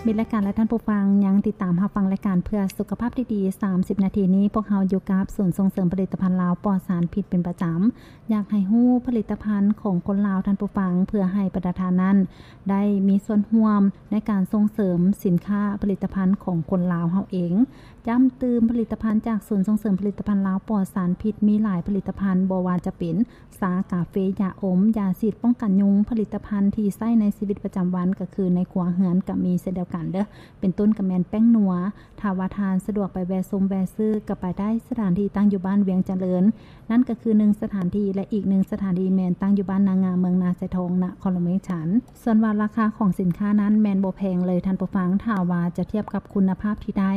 ມິດລາຍການ ແລະ ທ່ານຜູ້ຟັງ ຍັງຕິດຕາມຮັບຟັງລາຍການເພື່ອສຸຂະພາບທີ່ດີ ສາມສິບນາທີນີ້ ພວກເຮົາຢູ່ກັບສູນສົ່ງເສີມຜະລິດຕະພັນລາວປອດສານພິດເປັນປະຈຳ. ຢາກໃຫ້ຮູ້ຜະລິດຕະພັນຂອງຄົນລາວ ທ່ານຜູ້ຟັງ, ເພື່ອໃຫ້ບັນດາທ່ານນັ້ນໄດ້ມີສ່ວນຮ່ວມໃນການສົ່ງເສີມສິນຄ້າຜະລິດຕະພັນຂອງຄົນລາວເຮົາເອງ. ຢ້ຳຕື່ມ ຜະລິດຕະພັນຈາກສູນສົ່ງເສີມຜະລິດຕະພັນລາວປອດສານພິດ ມີຫຼາຍຜະລິດຕະພັນ, ບໍ່ວ່າຈະເປັນ ຊາ, ກາເຟ, ຢາອົມ, ຢາສີດປ້ອງກັນຍຸງ, ຜະລິດຕະພັນທີ່ໃຊ້ໃນຊີວິດປະຈຳວັນ ກໍຄືໃນຄົວເຮືອນກໍມີເຊັ່ນດຽວກັນເດີ້ ເປັນຕົ້ນກໍແມ່ນແປ້ງນົວ. ຖ້າວ່າທ່ານສະດວກໄປແວ່ຊົມແວ່ຊື້ ກໍໄປໄດ້ສະຖານທີ່ຕັ້ງຢູ່ບ້ານວຽງຈະເລີນ, ນັ້ນກໍຄືໜຶ່ງສະຖານທີ່ ແລະ ອີກໜຶ່ງສະຖານທີ່ແມ່ນຕັ້ງຢູ່ບ້ານນາງາມ ເມືອງນາຊາຍທອງ ນະຄອນຫຼວງວຽງຈັນ. ສ່ວນວ່າລາຄາຂອງສິນຄ້ານັ້ນແມ່ນບໍ່ແພງເລີຍທ່ານຜູ້ຟັງ, ຖ້າວ່າຈະທຽບກັບຄຸນນະພາບທີ່ໄດ້.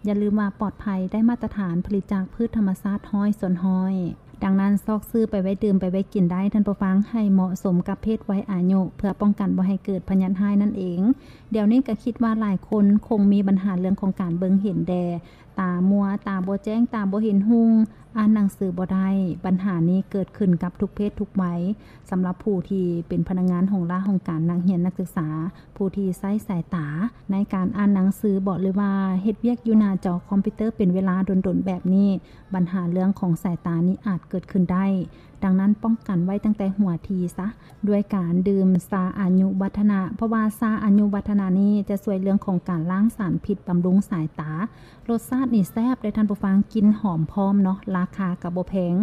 ຢ່າລືມວ່າປອດໄພ, ໄດ້ມາດຕະຖານ, ຜະລິດຈາກພືດທຳມະຊາດຮ້ອຍສ່ວນຮ້ອຍ. ດັ່ງນັ້ນ ຊອກຊື້ໄປໄວ້ດື່ມໄປໄວ້ກິນໄດ້ທ່ານຜູ້ຟັງ, ໃຫ້ເໝາະສົມກັບເພດໄວອາຍຸ ເພື່ອປ້ອງກັນບໍ່ໃຫ້ເກີດພະຍາດຮ້າຍນັ້ນເອງ. ດຽວນີ້ກໍຄິດວ່າຫຼາຍຄົນຄົງມີບັນຫາເລື່ອງຂອງການເບິ່ງເຫັນແດ່, ຕາມົວ, ຕາບໍ່ແຈ້ງ, ຕາບໍ່ເຫັນຮຸ່ງ, ອ່ານໜັງສືບໍ່ໄດ້. ບັນຫານີ້ເກີດຂຶ້ນກັບທຸກເພດທຸກໄວ. ສຳລັບຜູ້ທີ່ເປັນພະນັກງານຫ້ອງລາຫ້ອງການ, ນັກຮຽນ, ນັກສຶກສາ, ຜູ້ທີ່ໃຊ້ສາຍຕາໃນການອ່ານໜັງສືບໍ ຫຼືວ່າເຮັດວຽກຢູ່ໜ້າຈໍຄອມພິວເຕີເປັນເວລາດົນໆແບບນີ້, ບັນຫາເລື່ອງຂອງສາຍຕານີ້ອາດເກີດຂຶ້ນໄດ້. ດັ່ງນັ້ນ ປ້ອງກັນໄວ້ຕັ້ງແຕ່ຫົວທີຊະ ດ້ວຍການດື່ມຊາອາຍຸວັດທະນະ, ເພາະວ່າຊາອາຍຸວັດທະນະນີ້ຈະຊ່ວຍເລື່ອງຂອງການລ້າງສານພິດ, ບຳລຸງສາຍຕາ. ລົດຊາດນີ້ແຊບເດ້ທ່ານຜູ້ຟັງ, ກິ່ນຫອມພ້ອມເນາະ, ລາຄາກໍບໍ່ແພງ.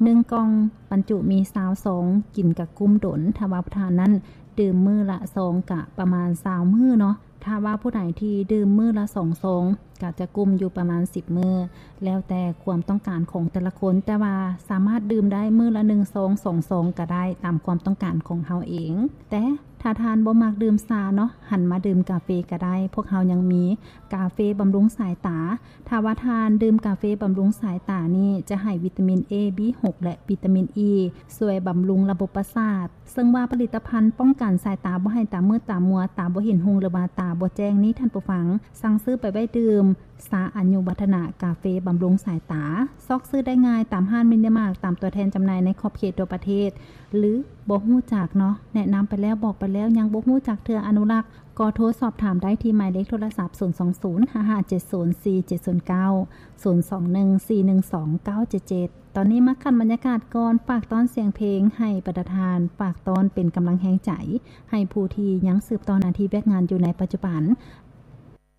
ໜຶ່ງກ່ອງບັນຈຸມີຊາວຊອງ, ກິນກະກຸ້ມດົນ. ຖ້າວ່າຜູ້ທ່ານນັ້ນດື່ມມື້ລະຊອງ ກະປະມານຊາວມື້ເນາະ. ຖ້າວ່າຜູ້ໃດທີ່ດື່ມມື້ລະສອງຊອງ ກະຈະກຸ້ມຢູ່ປະມານສິບມື້, ແລ້ວແຕ່ຄວາມຕ້ອງການຂອງແຕ່ລະຄົນ, ແຕ່ວ່າສາມາດດື່ມໄດ້ມື້ລະໜຶ່ງຊອງ, ສອງຊອງກະໄດ້, ຕາມຄວາມຕ້ອງການຂອງເຮົາເອງ. ແຕ່ຖ້າທ່ານບໍ່ມັກດື່ມຊາເນາະ, ຫັນມາດື່ມກາເຟກະໄດ້. ພວກເຮົາຍັງມີກາເຟບຳລຸງສາຍຕາ. ຖ້າວ່າທ່ານດື່ມກາເຟບຳລຸງສາຍຕານີ້ ຈະໃຫ້ວິຕາມິນ A B ຫົກ ແລະ ວິຕາມິນ E ຊ່ວຍບຳລຸງລະບົບປະສາດ. ເຊິ່ງວ່າຜະລິດຕະພັນປ້ອງກັນສາຍຕາບໍ່ໃຫ້ຕາມືດຕາມົວ, ຕາບໍ່ເຫັນຮຸ່ງ ຫຼືວ່າຕາບໍ່ແຈ້ງນີ້ ທ່ານຜູ້ຟັງ, ສັ່ງຊື້ໄປໄວ້ດື່ມຊາອາຍຸວັດທະນະ, ກາເຟບຳລຸງສາຍຕາ. ຊອກຊື້ໄດ້ງ່າຍຕາມຮ້ານມິນິມາດ, ຕາມຕົວແທນຈຳໜ່າຍໃນຂອບເຂດທົ່ວປະເທດ. ຫຼືບໍ່ຮູ້ຈັກເນາະ, ແນະນຳໄປແລ້ວ, ບອກໄປແລ້ວ, ຍັງບໍ່ຮູ້ຈັກເທື່ອ, ອະນຸລັກ, ກໍໂທສອບຖາມໄດ້ທີ່ໝາຍເລກໂທລະສັບ ສູນສອງສູນ ຫ້າຫ້າເຈັດສູນ ສີ່ເຈັດສູນເກົ້າ ສູນສອງໜຶ່ງ ສີ່ໜຶ່ງສອງ ເກົ້າເຈັດເຈັດ. ຕອນນີ້ມາຂັ້ນບັນຍາກາດກ່ອນ, ຝາກຕ້ອນສຽງເພງໃຫ້ບັນດາທ່ານ, ຝາກຕ້ອນເປັນກຳລັງແຮງໃຈໃຫ້ຜູ້ທີ່ຍັງສືບຕໍ່ໜ້າທີ່ວຽກງານຢູ່ໃນປັດຈຸບັນ.